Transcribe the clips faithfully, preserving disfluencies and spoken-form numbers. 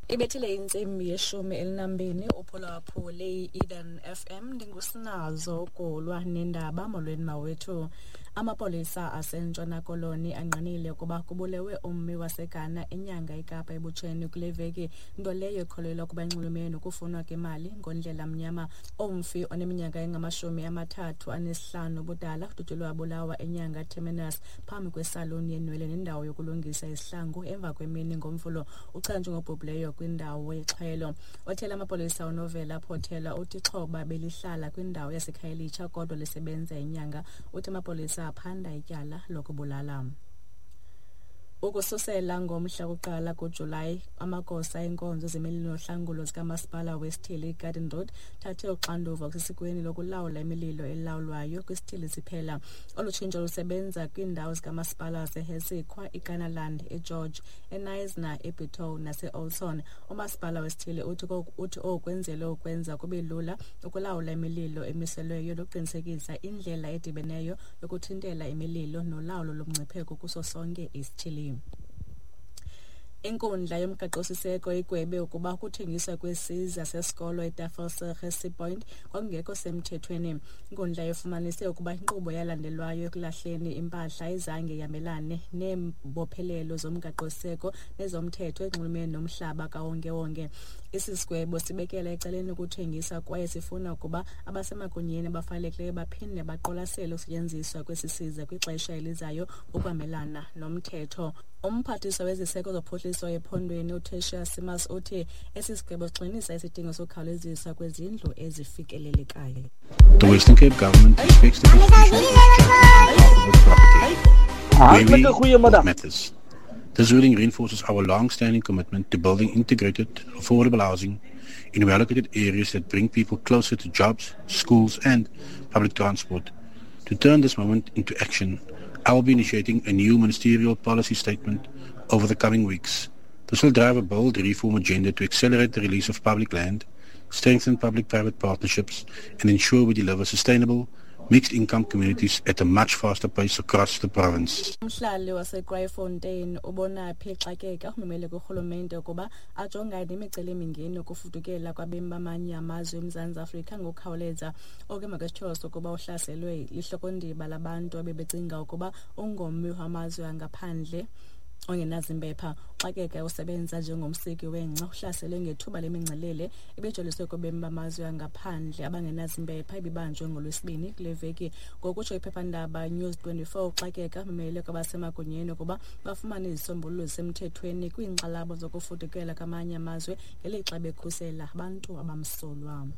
Ibethile intsimbi yeshumi elinambini uphulaphule i-Eden F M. Ndingusinazo Golwa nendaba. Molweni mawethu. Amapolisa aseNtshona Koloni angqinile ukuba kubulewe ummi waseGhana eNyanga eKapa ebutsheni kule veki, nto leyo ekholelwa ukuba inxulumene nokufunwa kwemali ngondlela mnyama. Umfi oneminyaka engamashumi amathathu anesihlanu ubudala udutyulwe wabulawa eNyanga Terminus phambi kwesaluni yenwele nendawo yokulungisa izihlangu emva kwemini ngoMvulo. Uchanjwe ngobhubhileyo kwindawo yexhwelo. Othela amapolisa uNovela Potelwa uthi ixhoba belihlala kwindawo yaseKhayelitsha kodwa lisebenza eNyanga. Uthi amapolisa aphanda ityala lokubulala. Ukususela ngomhla wokuqala kuJulayi, amagosa enkonzo zemililo nohlangulo zikamasipala wesithili iGarden Road thathe uxanduva kusesikweni lokulawula imililo elawulwayo kwisithili siphela. Olu tshintsho lusebenza kwiindawo zikamasipala waseHessequa, iKannaland, eGeorge, eKnysna, eBitou naseOudtshoorn. Umasipala wesithili uthi uthi oku kwenzelwe ukwenza kube lula ukulawula imililo emiselweyo nokuqinisekisa indlela edibeneyo yokuthintela imililo nolawulo lomngcipheko kuso sonke isithili. Inkundla yomgaqosiseko igwebe ukuba ukuthengiswa kwesiza sesikolo eTafelsig eSea Point kwakungekho semthethweni. Inkundla ifumanise ukuba inkqubo yalandelwayo ekulahleni impahla ayizange ihambelane neembophelelo zomgaqosiseko nezomthetho ezinxulumene nomhlaba kawonkewonke. Esi sigwebo sibekela ecaleni ukuthengisa kwaye sifuna ukuba abasemagunyeni abafanelekileyo baphinde baqwalasele ukusetyenziswa kwesi siza kwixesha elizayo ukuhambelana nomthetho. Umphathiswa weziseko zophuhliso ephondweni uTertuis Simmers uthi esi sigwebo sigxininisa isidingo sokukhawuleziswa kwezindlu ezifikelelekayo. The Western Cape government expects the constitution of this chapter of property. Hartlike goeiemiddag. Matters. This ruling reinforces our long-standing commitment to building integrated, affordable housing in well-located areas that bring people closer to jobs, schools and public transport. To turn this moment into action, I will be initiating a new ministerial policy statement over the coming weeks. This will drive a bold reform agenda to accelerate the release of public land, strengthen public-private partnerships, and ensure we deliver sustainable, mixed-income communities at a much faster pace across the province. Umhlali waseKraaifontein uBonaphi Xakeka umemele kurhulumente ukuba ajongane nemicelimingeni yokufudukela kwabemi bamanye amazwe eMzantsi Afrika ngokukhawuleza. Oku emva kwesityholo sokuba uhlaselwe lihlokondiba labantu abebecinga ukuba ungummi wamazwe angaphandle ongenazimpepha. Uxakeka usebenza njengomsiki wengca uhlaselwe ngethuba lemingcelele ebijoliswe kubemi bamazwe angaphandle abangenazimpepha ibibanjwe ngoLwesibini kule veki. Ngokutsho iphephandaba News twenty-four, uXakeka umemele kwabasemagunyeni ukuba bafumane izisombululo zisemthethweni kwiinkxalabo zokufudukela kwamanye amazwe ngelixa bekhusela abantu abamsulwa.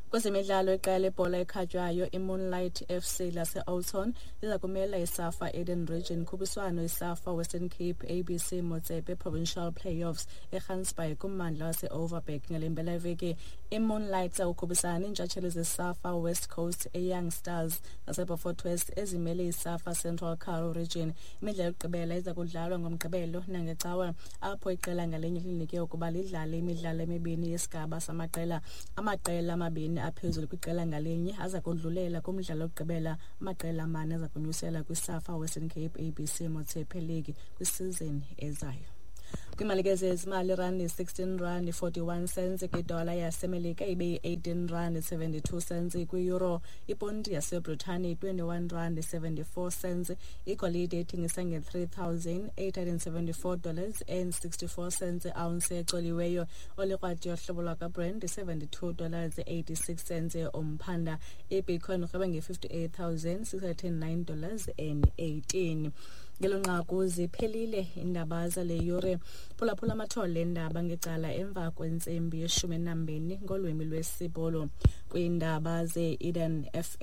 Kwezemidlalo, iqela lebhola ekhatywayo iMoonlight F C lase-Oudtshoorn liza kumela iSAFA Eden Region khuphiswano iSAFA Western Cape A B C Motsepe Provincial Playoffs eGansbaai kummandla wase-Overberg ngale mpelaveki. IMoonlight iza kukhuphisana neentshatsheli zeSAFA West Coast eYoung Stars zaseBeaufort West ezimele iSAFA Central Karoo Region. Imidlalo yokugqibela iza kudlalwa ngoMgqibelo nangeCawa, apho iqela ngalinye linikwe ukuba lidlale imidlalo emibini yesigaba samaqela. Amaqela amabini aphezulu kwiqela ngalinye aza kudlulela kumdlalo wokugqibela. Amaqela amane aza kunyuselwa kwiSAFA Western Cape A B C Motsepe League kwisizini ezayo. Kwiimali zezimali, irandi sixteen rand forty-one cents kwidola yaseMelika, ibe yi-eighteen rand seventy-two cents kwi-euro. Iponti yaseBritani twenty-one rand seventy-four cents. Igolide ithengisa nge-three thousand eight hundred seventy-four dollars and sixty-four cents ounce ecoliweyo. Olikrwati yohlobo lwakwaBrent seventy-two dollars eighty-six cents umphanda. Ibitcoin urhweba nge-fifty-eight thousand six hundred nine dollars and eighteen. Ngelo nqaku ziphelile iindaba zale yure. Phulaphula amathole endaba ngecala emva kwentsimbi yeshumi nambini ngolwimi lwesiBhulu kwiindaba ze-Eden F M.